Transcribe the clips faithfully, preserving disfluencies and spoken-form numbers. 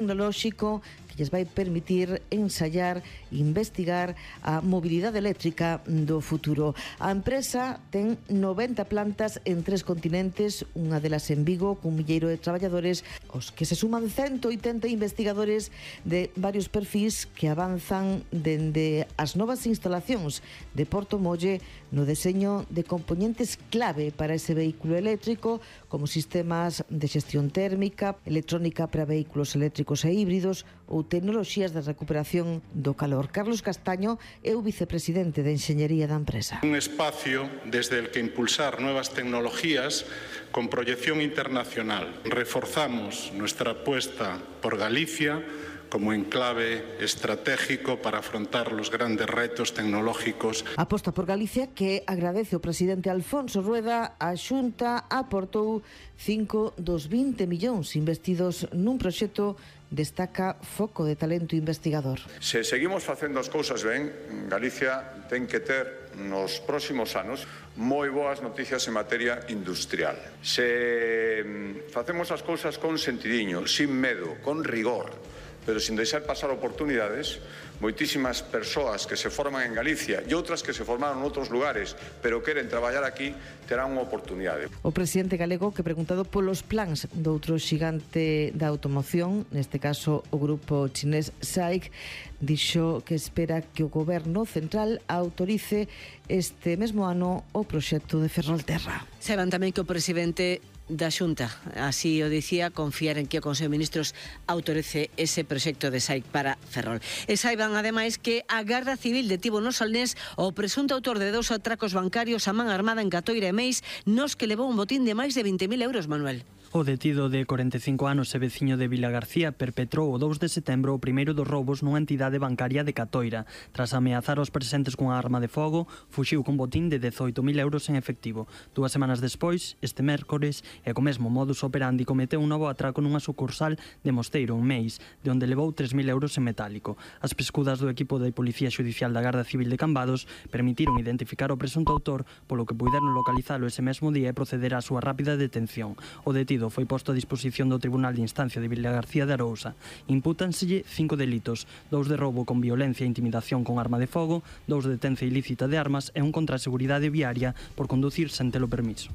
tecnolóxico que lles vai permitir ensayar e investigar a mobilidade eléctrica do futuro. A empresa ten noventa plantas en tres continentes, unha delas en Vigo, cun milleiro de traballadores, os que se suman ciento oitenta investigadores de varios perfís que avanzan dende as novas instalacións de Portomolle no deseño de componentes clave para ese vehículo eléctrico, como sistemas de xestión térmica, electrónica para vehículos eléctricos e híbridos ou tecnoloxías de recuperación do calor. Carlos Castaño é o vicepresidente de Enxeñería da empresa. Un espacio desde el que impulsar nuevas tecnologías con proyección internacional. Reforzamos nuestra apuesta por Galicia como enclave estratégico para afrontar los grandes retos tecnológicos. Aposta por Galicia que agradece o presidente Alfonso Rueda. A Xunta aportou cinco dos vinte millóns investidos nun proxecto, destaca foco de talento investigador. Se seguimos facendo as cousas ben, Galicia ten que ter nos próximos anos moi boas noticias en materia industrial. Se facemos as cousas con sentidiño, sin medo, con rigor, pero sin deixar pasar oportunidades, moitísimas persoas que se forman en Galicia e outras que se formaron en outros lugares, pero queren traballar aquí, terán unha oportunidade. O presidente galego, que preguntado polos plans do outro xigante da automoción, neste caso o grupo chinés S A I C, dixo que espera que o goberno central autorice este mesmo ano o proxecto de Ferrolterra. Saiban tamén que o presidente da Xunta, así o dicía, confiar en que o Consello de Ministros autorice ese proxecto de S A I C para Ferrol. E saiban, ademais, que a Garda Civil detivo no Solnés o presunto autor de dous atracos bancarios a man armada en Catoira e Meis, nos que levou un botín de máis de vinte mil euros, Manuel. O detido de corenta e cinco anos e veciño de Vilagarcía perpetrou o dous de setembro o primeiro dos roubos nunha entidade bancaria de Catoira. Tras ameazar aos presentes cunha arma de fogo, fuxiu cun botín de dezoito mil euros en efectivo. Dúas semanas despois, este mércores, e co mesmo modus operandi, cometeu un novo atraco nunha sucursal de Mosteiro, en Meis, de onde levou tres mil euros en metálico. As pescudas do equipo de Policía Xudicial da Garda Civil de Cambados permitiron identificar o presunto autor, polo que puideron localizalo ese mesmo día e proceder á súa rápida detención. O detido foi posto a disposición do Tribunal de Instancia de Vilagarcía de Arousa. Impútanselle cinco delitos, dous de roubo con violencia e intimidación con arma de fogo, dous de detención ilícita de armas e un contra a seguridade viaria por conducir sen telo permiso.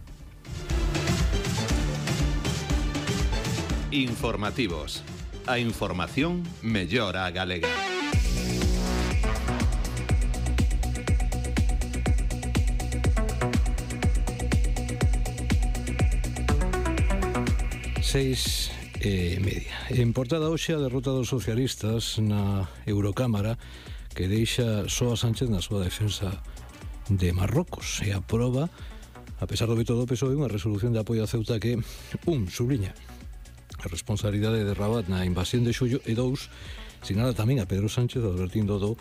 Informativos. A información mellora a galega. Seis e media. En portada hoxe a derrota dos socialistas na Eurocámara, que deixa só a Sánchez na súa defensa de Marrocos, e aproba, a pesar do veto do P S O E, unha resolución de apoio a Ceuta que, un, subliña a responsabilidade de Rabat na invasión de Xullo, e dous, sinala tamén a Pedro Sánchez advertindo do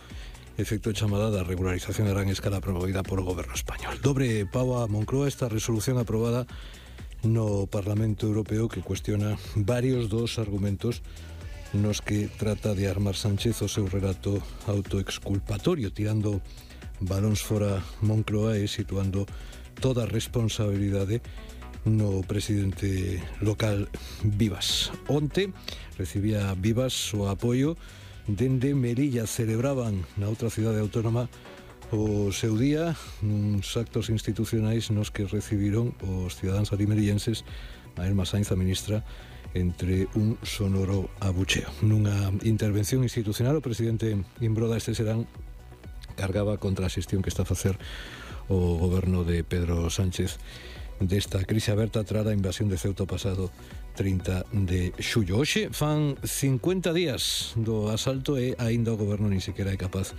efecto de chamada da regularización de gran escala promovida por o goberno español. Dobre pau a Moncloa esta resolución aprobada no Parlamento Europeo, que cuestiona varios dos argumentos nos que trata de armar Sánchez o seu relato autoexculpatorio, tirando balóns fora Moncloa e situando toda a responsabilidade no presidente local Vivas. Onte recibía Vivas o apoio dende Melilla. Celebraban na outra cidade autónoma o seu día nuns actos institucionais nos que recibiron os cidadáns alimelillenses a Elma Sainz, a ministra, entre un sonoro abucheo. Nunha intervención institucional, o presidente Imbroda este serán cargaba contra a xestión que está a facer o goberno de Pedro Sánchez desta crise aberta tras a invasión de Ceuta o pasado trinta de xullo. Hoxe fan cincuenta días do asalto e aínda o goberno nin sequera é capaz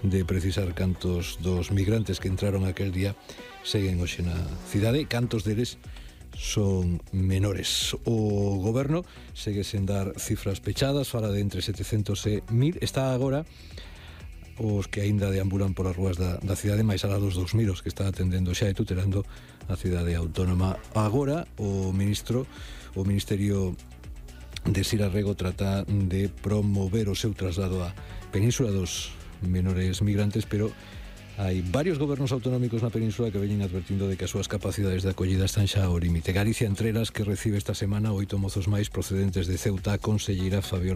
de precisar cantos dos migrantes que entraron aquel día seguen hoxe na cidade, cantos deles son menores. O goberno segue sen dar cifras pechadas, fala de entre setecentos e mil, está agora os que aínda deambulan polas rúas da, da cidade, máis alá dos dous mil os que está atendendo xa e tutelando a cidade autónoma. Agora o ministro, o Ministerio de Sira Rego trata de promover o seu traslado á Península dos menores migrantes, pero Hai varios gobernos autonómicos na península que veñen advertindo de que as súas capacidades de acollida están xa ao límite. Galicia entre elas, que recibe esta semana oito mozos máis procedentes de Ceuta, a conselleira Fabiola